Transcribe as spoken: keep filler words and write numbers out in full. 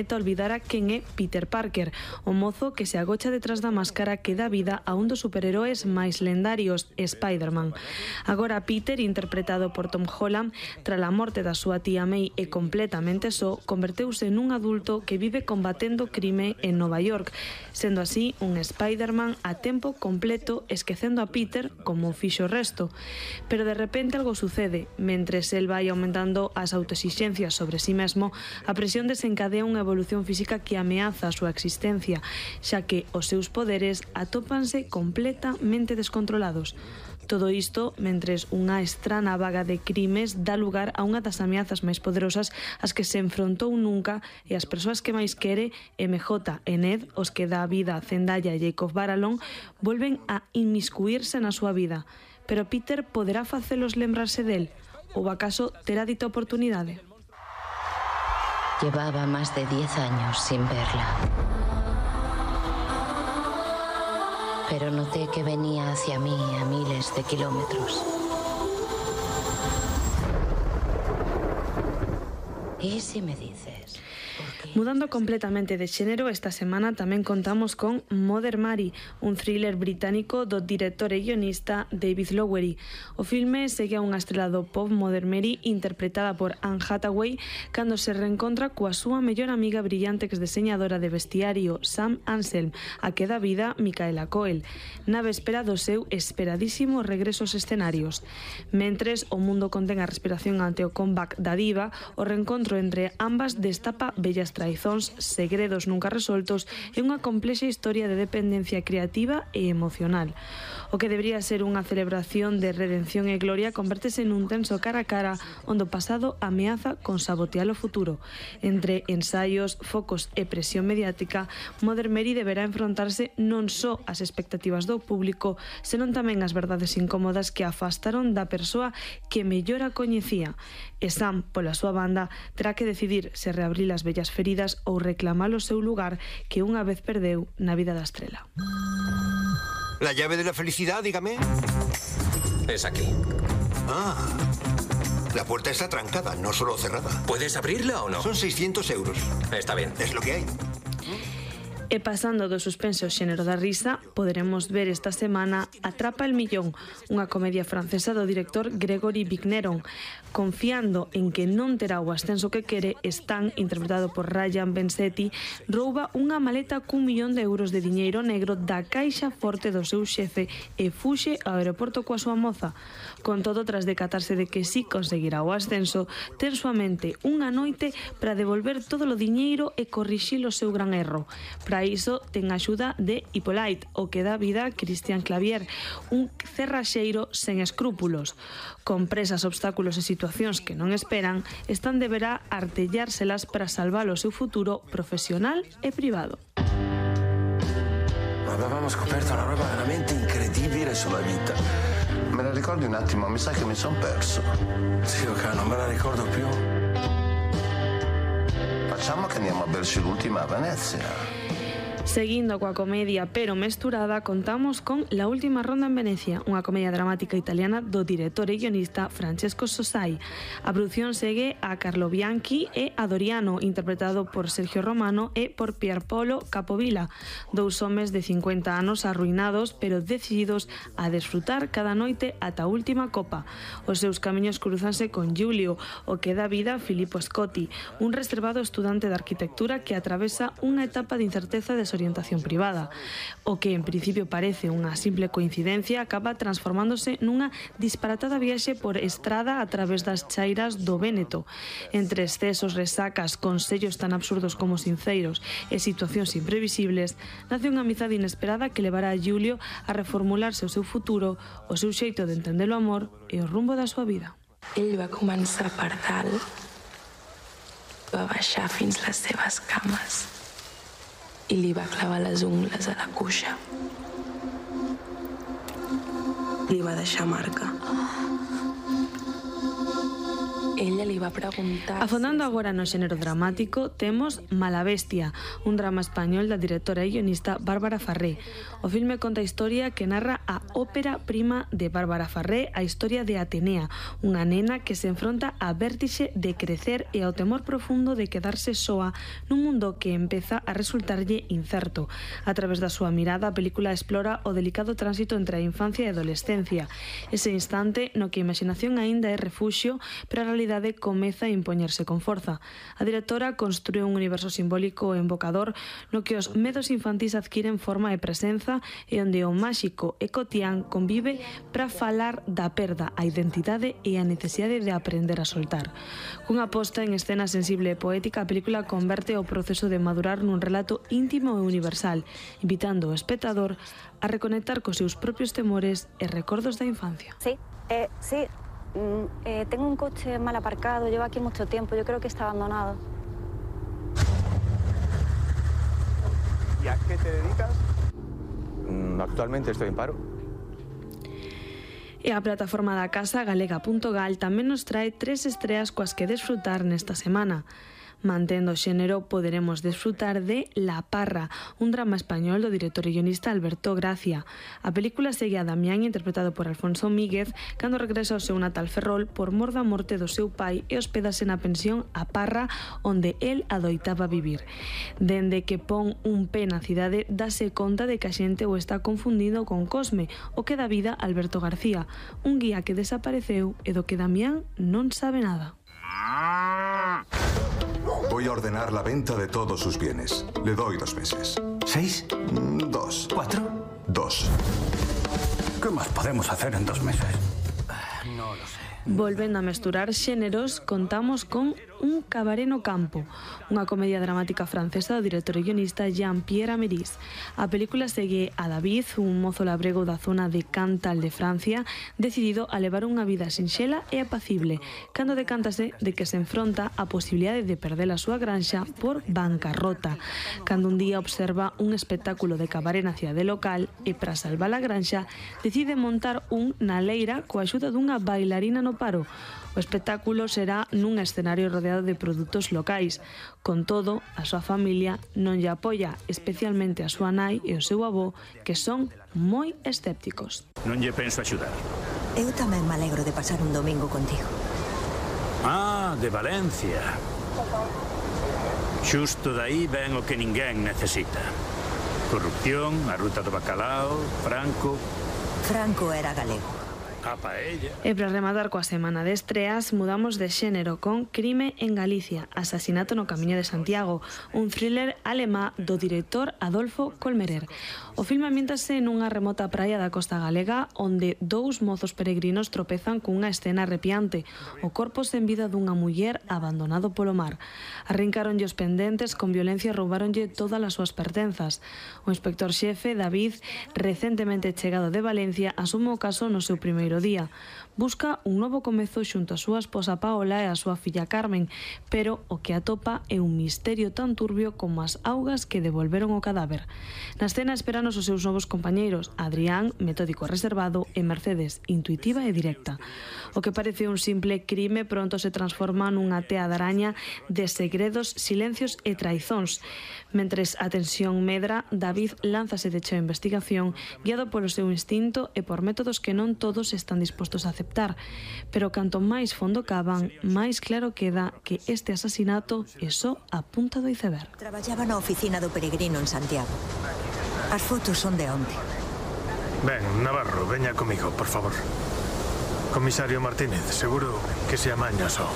olvidara quen é Peter Parker, o mozo que se agocha detrás da máscara que dá vida a un dos superheróis máis lendarios, Spider-Man. Agora Peter, interpretado por Tom Holland, tras a morte da súa tía May e completamente só, converteuse nun adulto que vive combatendo crime en Nova York, sendo así un Spider-Man a tempo completo, esquecendo a Peter como fixo o resto. Pero de repente algo sucede. Mentres el vai aumentando as autoexixencias sobre sí mesmo, a presión desencadea unha evolución física que ameaza a súa existencia, xa que os seus poderes atópanse completamente descontrolados. Todo isto mentres unha estrana vaga de crimes dá lugar a unha das ameazas máis poderosas ás que se enfrontou nunca, e as persoas que máis quere, M J e Ned, os que dá vida a Zendaya e Jacob Batalon, volven a inmiscuírse na súa vida. Pero Peter poderá facelos lembrarse del? Ou acaso terá dita oportunidade? Llevaba más de diez años sin verla. Pero noté que venía hacia mí a miles de kilómetros. ¿Y si me dices? Mudando completamente de xénero, esta semana tamén contamos con Mother Mary, un thriller británico do director e guionista David Lowery. O filme segue a unha estrela do pop, Mother Mary, interpretada por Anne Hathaway, cando se reencontra coa súa mellor amiga brillante ex deseñadora de vestiario, Sam Anselm, a que dá vida Micaela Coel, na véspera do seu esperadísimo regreso aos escenarios. Mentres o mundo contén a respiración ante o comeback da diva, o reencontro entre ambas destapa bellas traizóns, segredos nunca resoltos e unha complexa historia de dependencia creativa e emocional. O que debería ser unha celebración de redención e gloria convértese nun tenso cara a cara onde o pasado ameaza con sabotear o futuro. Entre ensaios, focos e presión mediática, Mother Mary deberá enfrontarse non só ás expectativas do público, senón tamén as verdades incómodas que afastaron da persoa que mellor a coñecía. E Sam, pola súa banda, terá que decidir se reabrir as vellas feridas ou reclamar o seu lugar que unha vez perdeu na vida da estrela. La llave de la felicidad, dígame. Es aquí. Ah, la puerta está trancada, no solo cerrada. ¿Puedes abrirla o no? Son seiscientos euros. Está bien. Es lo que hay. E pasando do suspense ao xénero da risa, poderemos ver esta semana Atrapa el millón, unha comedia francesa do director Gregory Vigneron. Confiando en que non terá o ascenso que quere, Stan, interpretado por Ryan Bensetti, rouba unha maleta cun millón de euros de diñeiro negro da caixa forte do seu xefe e fuxe ao aeroporto coa súa moza. Con todo, tras decatarse de que si conseguirá o ascenso, ten súamente unha noite para devolver todo o diñeiro e corrixir o seu gran erro. Para iso ten a axuda de Hippolyte, o que dá vida a Christian Clavier, un cerraxeiro sen escrúpulos. Con presas, obstáculos e situacións que non esperan, Stan deberá artellárselas para salvar o seu futuro profesional e privado. Avevamo scoperto una roba veramente incredibile sulla vita. Me la ricordi un attimo? Mi sa che mi son perso. Zio K, non me la ricordo più. Facciamo che andiamo a berci l'ultima a Venezia. Seguindo coa comedia pero mesturada, contamos con La última ronda en Venecia, unha comedia dramática italiana do director e guionista Francesco Sosai. A produción segue a Carlo Bianchi e a Doriano, interpretado por Sergio Romano e por Pierpaolo Capovilla, dous homes de cincuenta anos arruinados pero decididos a desfrutar cada noite ata a última copa. Os seus camiños cruzanse con Giulio, o que dá vida a Filippo Scotti, un reservado estudante de arquitectura que atravesa unha etapa de incerteza e desorientación privada. O que en principio parece unha simple coincidencia acaba transformándose nunha disparatada viaxe por estrada a través das chairas do Véneto. Entre excesos, resacas, consellos tan absurdos como sinceros e situacións imprevisibles, nace unha amizade inesperada que levará a Giulio a reformularse o seu futuro, o seu xeito de entender o amor e o rumbo da súa vida. Ell va començar per dalt, va baixar fins les seves cames i li va clavar les ungles a la cuixa. Li va deixar marca. ella li va preguntar... Afondando agora no xénero dramático, temos Mala Bestia, un drama español da directora e guionista Bárbara Farré. O filme conta a historia que narra a ópera prima de Bárbara Farré, a historia de Atenea, unha nena que se enfronta á vértixe de crecer e ao temor profundo de quedarse soa nun mundo que empeza a resultarlle incerto. A través da súa mirada, a película explora o delicado tránsito entre a infancia e a adolescencia, ese instante no que a imaginación aínda é refuxio, pero a realidade comeza a impoñerse con forza. A directora construe un universo simbólico e invocador no que os medos infantís adquiren forma e presenza e onde o máxico e cotián convive para falar da perda, a identidade e a necesidade de aprender a soltar. Cunha posta en escena sensible e poética, a película converte o proceso de madurar nun relato íntimo e universal, invitando o espectador a reconectar cos seus propios temores e recordos da infancia. Sí, eh, sí. Eh, tengo un coche mal aparcado, llevo aquí mucho tiempo, yo creo que está abandonado. ¿Y a qué te dedicas? Mm, actualmente estoy en paro. E a plataforma da casa galega punto gal tamén nos trae tres estreas coas que desfrutar nesta semana. Mantendo o xénero, poderemos desfrutar de La Parra, un drama español do director e guionista Alberto Gracia. A película segue a Damián, interpretado por Alfonso Míguez, cando regresa ao seu natal Ferrol por mor da morte do seu pai e hospedase na pensión A Parra, onde el adoitaba vivir. Dende que pon un pé na cidade, dase conta de que a xente o está confundindo con Cosme, o que dá vida a Alberto García, un guía que desapareceu e do que Damián non sabe nada. Voy a ordenar la venta de todos sus bienes. Le doy dos meses. ¿Seis? Mm, Dos. ¿Cuatro? Dos. ¿Qué más podemos hacer en dos meses? No lo sé. Volvendo a mesturar xéneros, contamos con Un cabaré no campo, unha comedia dramática francesa do director e guionista Jean-Pierre Améris. A película segue a David, un mozo labrego da zona de Cantal de Francia, decidido a levar unha vida sinxela e apacible, cando decántase de que se enfronta á posibilidade de perder a súa granxa por bancarrota, cando un día observa un espectáculo de cabaré na cidade local e, para salvar a granxa, decide montar un na leira coa axuda dunha bailarina no paro. O espectáculo será nun escenario rodeado de produtos locais. Con todo, a súa familia non lle apoia, especialmente a súa nai e o seu avó, que son moi escépticos. Non lle penso axudar. Eu tamén me alegro de pasar un domingo contigo. Ah, de Valencia. Xusto daí ven o que ninguén necesita. Corrupción, a ruta do bacalao, Franco... Franco era galego. E para rematar coa semana de estreas, mudamos de xénero con Crime en Galicia, asasinato no Camiño de Santiago, un thriller alemá do director Adolfo Kolmerer. O filme ambiéntase nunha remota praia da costa galega onde dous mozos peregrinos tropezan cunha escena arrepiante, o corpo sen vida dunha muller abandonado polo mar. Arrincaronlle os pendentes, con violencia roubaronlle todas as súas pertenzas. O inspector xefe, David, recentemente chegado de Valencia, asume o caso no seu primeiro día. Busca un novo comezo xunto a súa esposa Paola e a súa filla Carmen, pero o que atopa é un misterio tan turbio como as augas que devolveron o cadáver. Na escena esperanos os seus novos compañeiros, Adrián, metódico e reservado, e Mercedes, intuitiva e directa. O que parece un simple crime pronto se transforma nunha tea de araña de segredos, silencios e traizóns. Mentres a tensión medra, David lánzase de cheo a investigación, guiado polo seu instinto e por métodos que non todos están dispostos a aceptar. Pero canto máis fondo cavan, máis claro queda que este asasinato é só a punta do iceberg. Traballaba na oficina do peregrino en Santiago. As fotos son de onte. Ben, Navarro, veña comigo, por favor. Comisario Martínez, seguro que se amaña só.